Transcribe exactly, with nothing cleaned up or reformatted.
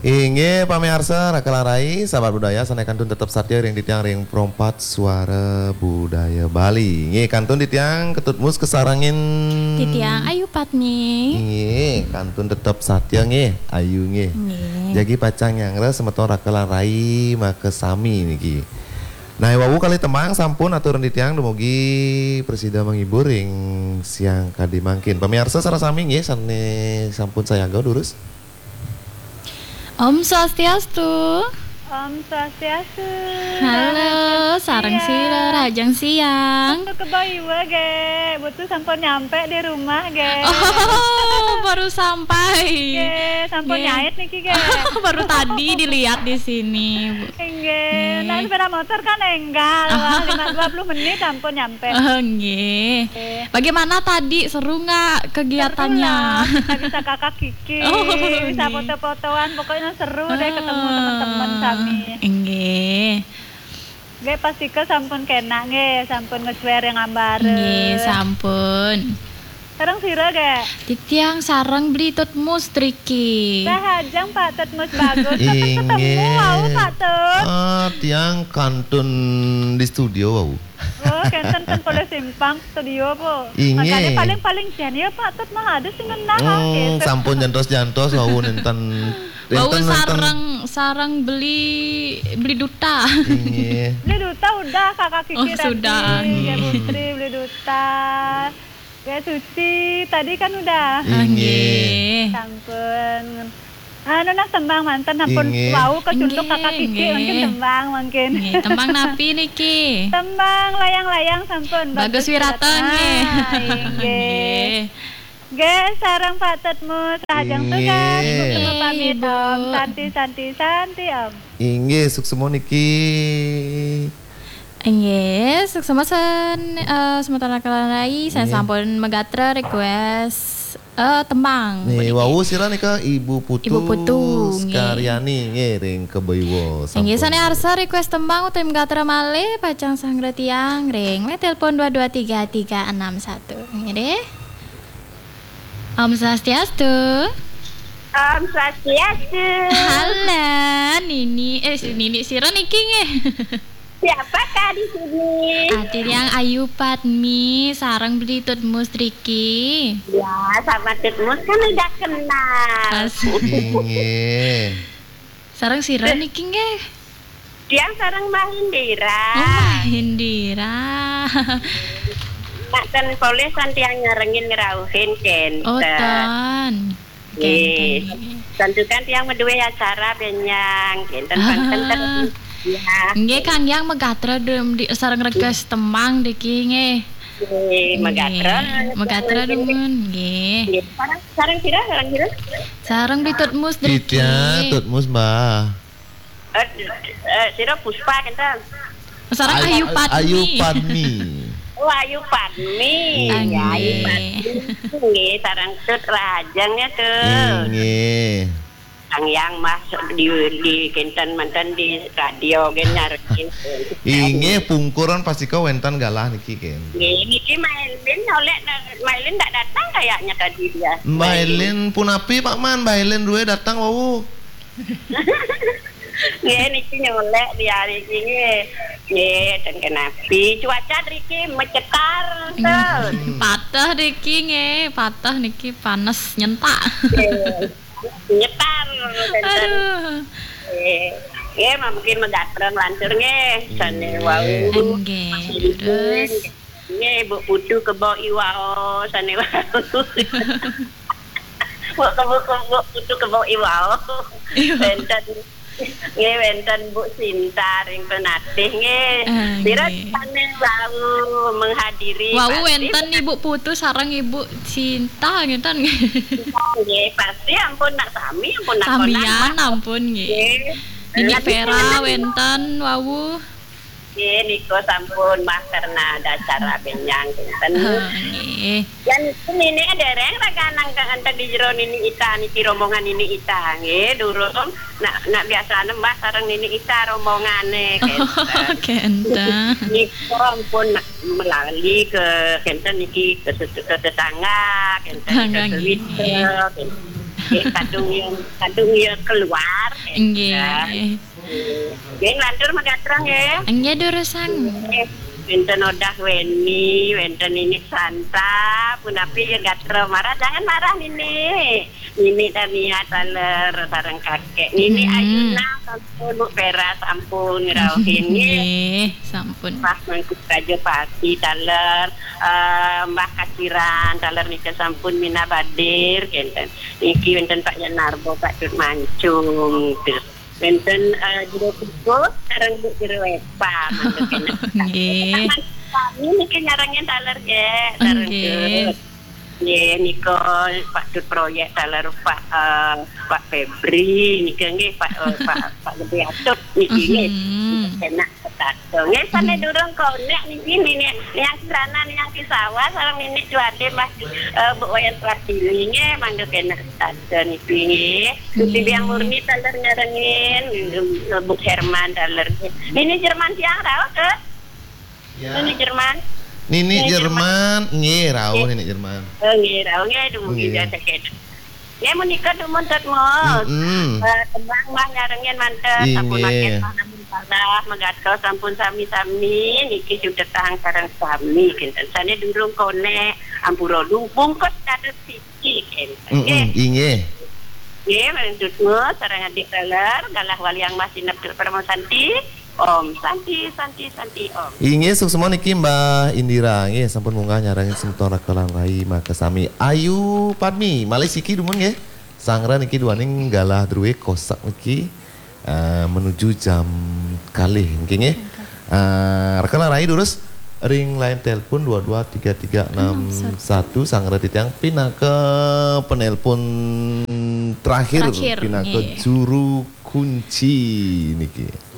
Inggih, pamiarsa, Raka lan Rai, sahabat budaya, sané kantun tetep satia ring titiang ring Pro empat Suara Budaya Bali. Inggih, kantun titiang Ketut Mus kasarengin. Titiang Ayu Padmi. Inggih, kantun tetep satia nggih, Ayu nggih. Nggih. Jagi pacang nyanggra semeton Raka lan Rai makasami niki. Nah, wau kalih tembang sampun atur titiang dumugi prasida menghibur ring siang kadi mangkin. Pamiarsa sareng sami nggih sané sampun sayaga durus. Om Swastiastu. Om Swastiastu. Halo, rahajeng sareng siang. Sira, rahajeng siang. Putu Kebo Iwa, Gék. Putu sampun nyampe di rumah, Gék. Oh, baru sampai. Gék, sampun nyait niki, Gék. Baru tadi dilihat di sini, Bu. Inggih. Nggih. Nah, sepeda motor kan énggal, wah, lima, dua puluh menit sampun nyampe. Oh, nggih. Nggih. Bagaimana tadi? Seru nggak kegiatannya? Seru lah, kita bisa kakak Kiki, oh, bisa nggih, foto-fotoan, pokoknya seru deh ketemu teman-teman sami. Inggih. Nggih, pastika sampun kénak nggih, sampun nge-share yang ambar. Nggih, sampun. Sareng sira, Gék? Titiang sareng Beli Tut Mus driki. Rahajeng Pak Tut Mus, bagus. Inggih. Ketemu wau, Pak Tut. Ah, tiang kantun di studio wau. Oh, kénten ten polih simpang studio, Po. Inggih. Makanya paling-paling jan ya, Pak Tut, mah ada sing ngenah, hmm, gitu. Sampun jantos-jantos wau nénten. Wau nénten sareng, sareng Beli, Beli Duta. Inggih. Beli Duta udah, Kakak Kiki tadi. Oh, sudah. Ya, Putri, Beli Duta. Ya, Suci tadi kan udah. Inggih. Sampun. Anu nah tembang manten, ampun, inggih, wau kecunduk, inggih, Kakak Kiki, inggih, mungkin tembang mungkin. Inggih, tembang napi niki? Tembang layang-layang sampun. Bagus Wiratan, nggih. Ah, inggih. Inggih. Nggih, sareng Pak Tut Mus, rahajeng tugas, inggih, Ibu Ketua pamit, Ibu. Om Santi, Santi, Santi, Om. Inggih, suksma niki. Inggih, suksma sen-, eh, semeton Raka lan Rai, saya, inggih, sampun magatra request, eh, tembang. Nih, puniki. Wau sira nika Ibu Putu, Ibu Putu, nggih. Sekaryani, nggih, ring Kebo Iwa, inggih, sampun. Sané arsa request tembang utawi magatra malih, pacang sanggra tiang ring line telepon dua dua tiga tiga enam satu. Nggih, deh. Om Swastiastu. Om Swastiastu. Halo, Nini, eh, si Nini sira niki nggih. Siapakah di sini? Ati tiang Ayu Padmi, sareng Beli Tut Mus driki. Ya, sama Tut Mus kan udah kenal. Asik. Inggih. Sareng sira niki nggih? Tiang sareng Mbah Indira. Oh, Mbah Indira. Nak ten polih san tiang nyarengin ngrauhin kénten. Oh, ten. Nggih. Kénten, nggih. Tentu kan tiang madué acara bénjang, kénten, ah, ten, ten. Ya. Nggih, Kang Yang magatra dum-, di, sareng request tembang driki nggih. Nggih, magatra. Nggih, magatra dumun, nggih. Nggih, sareng, sareng sira, sareng sira? Sareng Beli Tut Mus driki. Titiang Tut Mus, Mbah. Eh, eh, sira Puspa kénten? Sareng Ayu, Ayu Padmi. Ayu Padmi. Oh, Ayu Padmi. Inggih. Ya, Ayu Padmi. Nggih, sareng Tut rahajeng ya, Tut. Inggih. Kang Yang mah di, di kénten manten di radio gén nyarengin. Inggih, pungkuran pastika wénten galah niki kén. Nggih, niki Mailin oleh Mailin ndak datang kayaknya tadi dia. Mailin punapi, Pak Man? Mailin duwe datang wau. Nggih, niki nyolek di hari ini. Nggih, ten kenapi. Cuaca driki mecetar, hmm, ten. Pateh driki nggih, pateh niki panes nyentak. Nggih. Nyetar, ten. Aduh. Nggih. Nggih, mungkin megatreng lantur nggih. Sane wau. Nggih, terus. Nggih, Bu Putu kebo iwau, sane wau. Bu, Bu, Bu, Bu Putu kebo iwau. Iya. Wenten, nggih, wenten Bu Sinta ring Penatih, nggih. Ah, sira nggih. Sane wau menghadiri. Wau pasti wenten Ibu Putu sareng Ibu Sinta, ngeten nggih. Nggih, pasti ampun nak sami, ampun nak samian, ampun nggih. Nggih. Nini Vera wenten wau. Nggih, nika sampun mah karena ada acara benjang kinten. Oh, nggih. Yan nini dereng raga nang enten di jero nini Ita niki rombongan nini Ita. Nggih, durung. Nak, nak biasane Mbah sareng nini Ita rombongane kinten. Oh, kinten. Nika ampun nak melali ke kinten niki ke, ke tetangga, kinten ke tetangga, nggih. Twitter, kinten. Nggih, kadung ya, kadung ya keluar. Nggih. Nggih, nglantur magatra nggih. Nggih, durusang. Nggih. Wénten Odah Weni, wénten Nini Santa, punapi ya gatra marah, jangan marah Nini. Nini Tania taler sareng kakek. Nini Hmm. Ayuna sampun, Bu Vera sampun ngrauhin nggih. Nggih, sampun. Mbah Mangku Raja Pati taler, eh, Mbah Kaciran taler nika sampun minab hadir kenten. Niki wénten Pak Yanarbo, Pak Dut Mancung, gitu. Wénten eh, Jero Kukus sareng Bu Jero Epa, mangga kenten. Nggih. Kami niki nyarengin taler nggih, sareng Nggih. Dut. Nggih, nika Pak Dut Proyek taler Pak eh, Pak Febri nika nggih Pak eh, Pak Pak Gede Atut niki nggih. Mhm. Enak. Tato. Nggih, sané durung konek niki Nini Niang Kirana, Niang Kisawa, sareng Nini Cuade, Mbah eh, Bu Wayan Pratiwi nggih, mangga kena tato niki nggih. Gusti Nggih. Biang Murni taler nyarengin, Bu Herman taler. Nini Jerman tiang rauh ke? Ya. Nini Jerman. Nini Nini Jerman, nggih rauh Nini Jerman. Oh, nggih, rauh nggih, dumugi Nggih. biasa kena. Nggih, menika dumun Dut Mus. Mm-mm. Eh, tembang Mbah nyarengin manten, Inggih. sampun makin Mbah namun salah, megatos sampun sami-sami, niki sutetang sareng sami, kinten. Sané durung konek, ampura lu bungkus dados siji, kinten. Mm-mm, Nggih. Inggih. Nggih, Dut Mus, sareng adik taler, galah waliang Mbah sineb Dut Parama Santi. Om Santi, Santi, Santi, Om. Inggih, suksma niki Mbah Indira, nggih sampun munggah nyarengin semeton Raka lan Rai makasami. Ayu Padmi, malih siki dumun nggih. Sanggra niki duaning galah druwe kosak niki eh, menuju jam kalih niki nggih. Eh, Raka lan Rai durus ring line telepon dua dua tiga tiga enam satu, sanggra titiang pinaka penelpon terakhir, Terakhir, pinaka nggih. Juru Kunci niki.